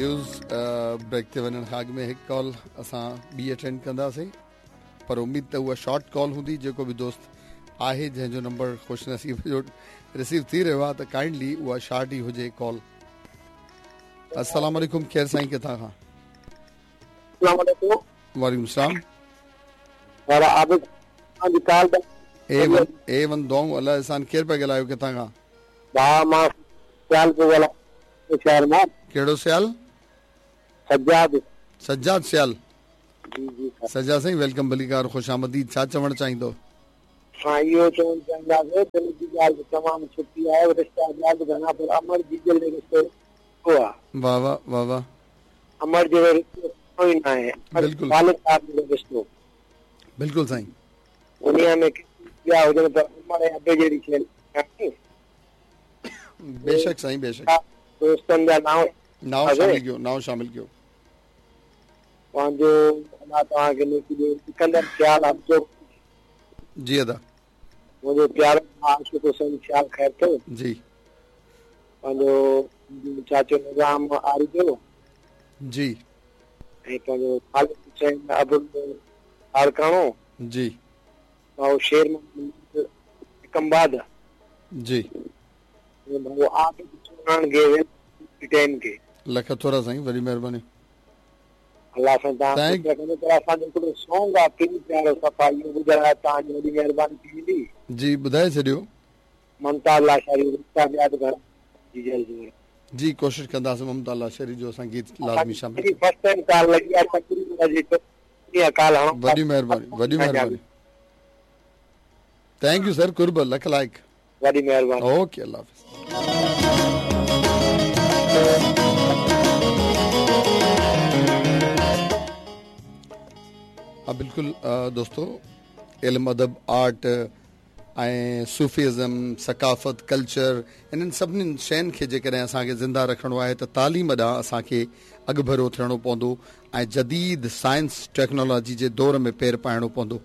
News break تي وڃڻ کان اڳ ۾ هڪ ڪال اسان ٻي اٽينڊ ڪنداسين پر اميد ته اها شارٽ ڪال هوندي جيڪو به دوست آهي جنهن جو نمبر خوش نصيب جو رسيو ٿي رهيو آهي ته ڪائنڊلي اها شارٽ ئي هجي ڪال. السلام عليڪم ڪير سائين ڪٿان کان؟ السلام عليڪم. وعليڪم السلام. وارا عابد توهان جي call A one A one دعائون الله احسان ڪير پيا ڳالهايو ڪٿان کان؟ ڀاء مان سيال پيو ڳالهايان شهر مان. ڪهڙو سيال؟ سجاد. سجاد سيال. جي جي سجاد سائين welcome ڀليڪار خوش آمديد ڇا چوڻ چاهيندو؟ سائين اهو چوڻ چاهينداسين دل جي ڳالهه ته تمام سٺي آهي رشتا ٻيا به گهڻا پر امڙ جيجل جو رشتو سٺو آهي. واه واه واه واه. امڙ جهڙو رشتو سٺو ئي ناهي. بلڪل. والد صاحب جهڙو رشتو. بلڪل سائين. دنيا ۾ ڪيتري ٻيا هجن پر امڙ ۽ ابي جهڙي شيء ناهي. بيشڪ سائين بيشڪ. دوستن جا نانء نانء شامل ڪيو نانء شامل ڪيو. پنهنجو الله توهان کي نيڪي ڏي سڪندر سيال حبدو. جي ادا. منهنجو پيارو ڀاء عاشق حسين سيال خيرپور. جي. پنهنجو چاچو نظام آريجو. جي. ۽ پنهنجو خالد حسين ابڙو لاڙڪاڻو. جي. ڀائو شير محمد ڪمباد. جي. ۽ ڀائو عابد چوهاڻ گيويل ٽين کي. لک ٿورا سائين وڏي مهرباني. الله سائين توهان خوش رکندو پر اسان جو هڪڙو سونگ آ پير پيارو صفا اهو ٻڌايو توهان جي وڏي مهرباني ٿي ويندي. جي ٻڌائي ڇڏيو. ممتاز لاشاري رشتا ٻيا به گهڻا جيجل جوڙ. جي ڪوشش ڪنداسين ممتاز لاشاري جو اسان گيت لازمي شامل ڪيون. فرسٽ ٽائيم ڪال لڳي آ تقريبن اڄ چوٿين ڪال هڻو وڏي مهرباني وڏي مهرباني thank you سر قرب لک لائق. وڏي مهرباني. اوڪي الله حافظ. ها بلڪل دوستو علم ادب آرٽ ۽ صوفيزم ثقافت ڪلچر انهن سڀني شين کي جيڪڏهن اسان کي زنده رکڻو آهي ته تعليم ڏانهن اسان کي اڳڀرو ٿيڻو پوندو ۽ جديد سائنس ٽيڪنالاجي جي دور ۾ پير پائڻو پوندو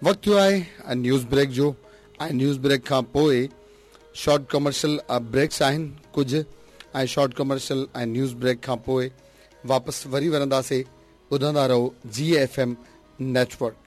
وقت ٿيو آهي نيوز بريڪ جو ۽ نيوز بريڪ کان پوء شارٽ ڪمرشل بريڪس آهن ڪجهه ۽ شارٽ ڪمرشل ۽ نيوز بريڪ کان پوء واپس وري ورنداسي ٻڌندا رهو جي ايف ايم نيٽ ورڪ.